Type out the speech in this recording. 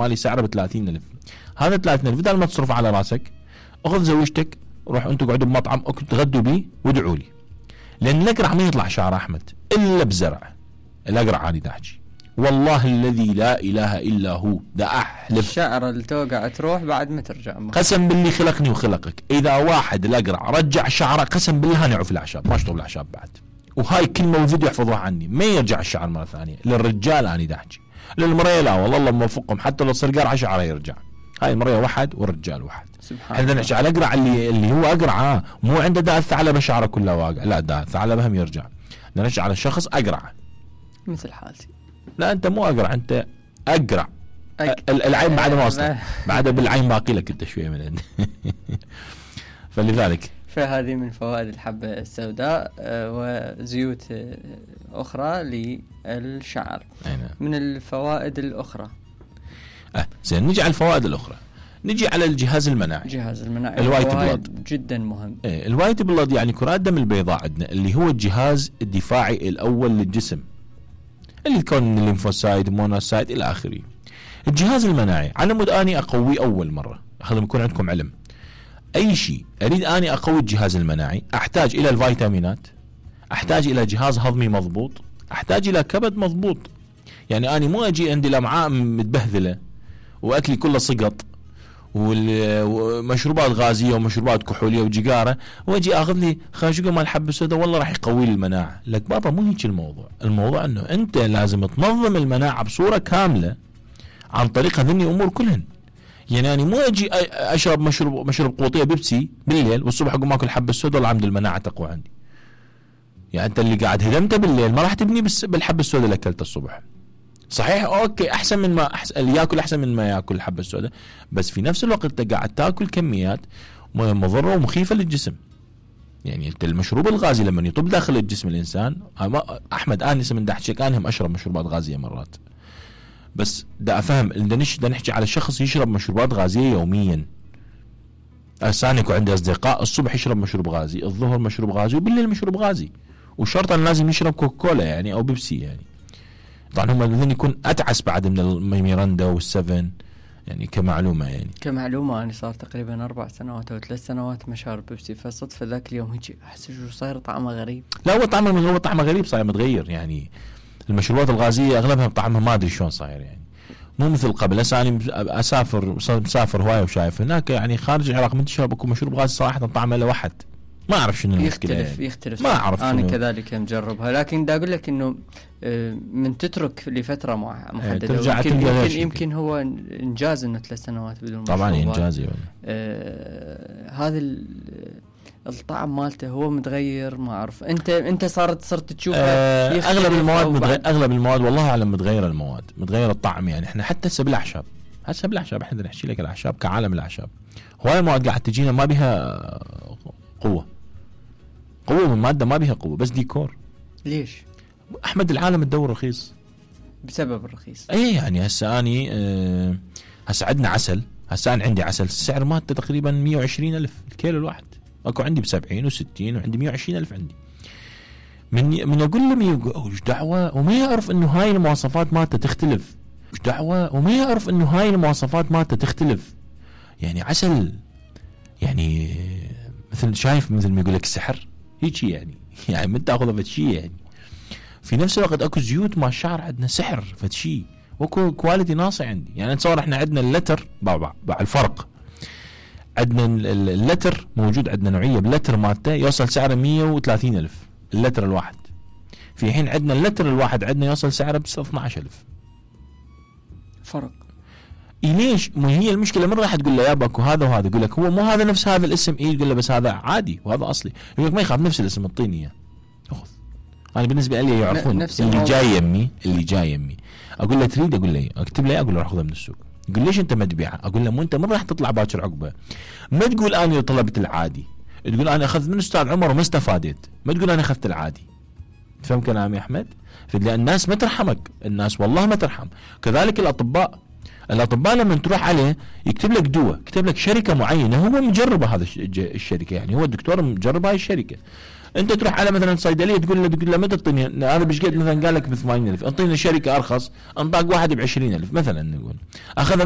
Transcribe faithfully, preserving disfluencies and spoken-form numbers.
مالي سعره ب ثلاثين ألف. هذا ثلاثين ألف بدل ما تصرف على راسك اخذ زوجتك روح انتم قعدوا بمطعم تغدوا بيه وادعوا لي، لان الاقرع ما يطلع شعر احمد الا بزرع. الاقرع انا دا احكي والله الذي لا اله الا هو، دا احلف. الشعر اللي توقع تروح بعد ما ترجع. قسم باللي خلقني وخلقك، اذا واحد الاقرع رجع شعره قسم بالله هنعوا في الاعشاب، ما اشطب الاعشاب بعد. وهاي كلمه وفيديو يحفظوها عني، ما يرجع الشعر مره ثانيه. للرجال انا دا احكي، للمرأة لا والله الله موفقهم، حتى لو صار قرعه شعره يرجع. هاي المرأة واحد والرجال واحد. احنا نحكي على الاقرع اللي اللي هو اقرع مو عنده داء الثعلبه شعره كله واقع، لا داء الثعلبه هم يرجع. نحكي على الشخص اقرع مثل حالتي. لا انت مو اقرع، انت اقرع. أك... العين بعد ما وصلت بعد بالعين باقي لك انت شويه من عندي. فلذلك فهذه من فوائد الحبة السوداء وزيوت أخرى للشعر. أينا. من الفوائد الأخرى أه زين نجي على الفوائد الأخرى، نجي على الجهاز المناعي. الجهاز المناعي الوايت بلاد جدا مهم. ايه الوايت بلاد يعني كرات دم البيضاء عندنا، اللي هو الجهاز الدفاعي الأول للجسم، اللي يكون من الليمفوسايت مونوسايت إلى آخره. الجهاز المناعي على مود أني أقوي أول مرة، خلينا يكون عندكم علم. أي شيء أريد أني أقوي الجهاز المناعي أحتاج إلى الفيتامينات، أحتاج إلى جهاز هضمي مضبوط، أحتاج إلى كبد مضبوط. يعني أنا مو أجي عندي الأمعاء متبهذلة وأكلي كله سقط ومشروبات غازية ومشروبات كحولية وجقارة، وأجي أخذ لي خاشقة مال حب السوداء والله راح يقوي لي المناعة. لك بابا مو هيك الموضوع. الموضوع أنه أنت لازم تنظم المناعة بصورة كاملة عن طريق هذني أمور كلهن. يعني أنا مو أجي أشرب مشروب مشروب قوطية بيبسي بالليل والصبح أقوم أكل حب السوداء والله الحمد المناعة تقوى عندي. يعني أنت اللي قاعد هدمته بالليل ما راح تبني بالحب السوداء اللي أكلته الصبح. صحيح أوكي أحسن من ما أحسن اللي يأكل أحسن من ما يأكل الحب السوداء، بس في نفس الوقت أنت قاعد تأكل كميات مضرة ومخيفة للجسم. يعني أنت المشروب الغازي لما يطب داخل الجسم الإنسان، أحمد آنس من دحشك أنا هم أشرب مشروبات غازية مرات، بس دا أفهم دا نحكي على شخص يشرب مشروبات غازية يوميا. أسانك وعندي أصدقاء الصبح يشرب مشروب غازي، الظهر مشروب غازي، وبالليل مشروب غازي، وشرطا لازم يشرب كوكولا يعني أو بيبسي. يعني طبعا هم الذين يكون أتعس بعد من الميراندا والسفن. يعني كمعلومة يعني كمعلومة أنا صار تقريبا أربع سنوات أو ثلاث سنوات ما شارب بيبسي، فصدفة ذاك اليوم هيك أحس شو صاير طعمه غريب. لا هو طعمه من هو طعمه غريب صاير متغير. يعني المشروبات الغازية أغلبها طعمها ما أدري شلون صاير، يعني مو مثل قبل. هسه أنا أسافر مسافر هواية وشايف هناك يعني خارج العراق من تشرب أكو مشروب غازي صراحة طعمه له واحد ما أعرف شنو المشكلة. يختلف يعني. يختلف ما أعرف أنا شنو. كذلك مجربها، لكن دا أقول لك إنه من تترك لفترة محددة ترجع يمكن, يمكن, يمكن هو إنجاز إنه ثلاث سنوات بدون طبعا إنجازي. آه هذا الطعم مالته هو متغير ما أعرف. أنت أنت صارت صرت تشوف آه أغلب المواد متغير. أغلب المواد والله أعلم متغيرة المواد متغير الطعم. يعني إحنا حتى هسه بالأعشاب هسه بالأعشاب إحنا نحكي لك الأعشاب كعالم الأعشاب هواي مواد قاعد تجينا ما بها قوة قوة من مادة ما بها قوة بس ديكور. ليش؟ أحمد العالم تدور رخيص بسبب الرخيص. أي يعني هسه أني أه هسه عندنا عسل. هسه أنا عندي عسل السعر مالته تقريبا مية وعشرين ألف الكيلو الواحد. أكو عندي بسبعين وستين وعندي مية وعشرين ألف عندي. من من أقول له وش دعوة وما يعرف إنه هاي المواصفات مالته تختلف. وش دعوة وما يعرف إنه هاي المواصفات مالته تختلف. يعني عسل يعني مثل شايف مثل ما يقول لك السحر هيك يعني يعني من تاخذه فتشي. يعني في نفس الوقت اكو زيوت مال الشعر عندنا سحر فتشي واكو كواليتي ناصع عندي. يعني نتصور احنا عندنا اللتر بعض الفرق. عندنا اللتر موجود عندنا نوعيه باللتر مالته يوصل سعره مية وثلاثين ألف اللتر الواحد، في حين عندنا اللتر الواحد عندنا يوصل سعره ب اثني عشر ألف فرق. إيه ليش؟ مو هي المشكله من راح تقول له يا باكو هذا وهذا يقول لك هو مو هذا نفس هذا الاسم. ايه يقول له بس هذا عادي وهذا اصلي. يقول لك ما يخاف نفس الاسم اعطيني اياه اخذ. انا بالنسبه لي يعرفون اللي جاي يمي اللي جاي يمي اقول له تريد اقول له اكتب له اقول له راح اخذه من السوق. يقول ليش انت ما تبيعه؟ اقول له مو انت من راح تطلع باكر عقبه. ما تقول انا طلبت العادي، تقول انا اخذت من استاذ عمر وما استفادت، ما تقول انا اخذت العادي. تفهم كلامي يا احمد؟ لان الناس ما ترحمك، الناس والله ما ترحم. كذلك الاطباء الاطباء لما تروح عليه يكتب لك دواء، يكتب لك شركه معينه هو مجربه هذا الشركه، يعني هو الدكتور مجرب هاي الشركه. انت تروح على مثلا صيدليه تقول له تقول له متى تعطيني هذا بشقد مثلا قال لك ب ثمانين ألف، انطيني شركه ارخص انطاك واحد ب عشرين ألف مثلا نقول، اخذها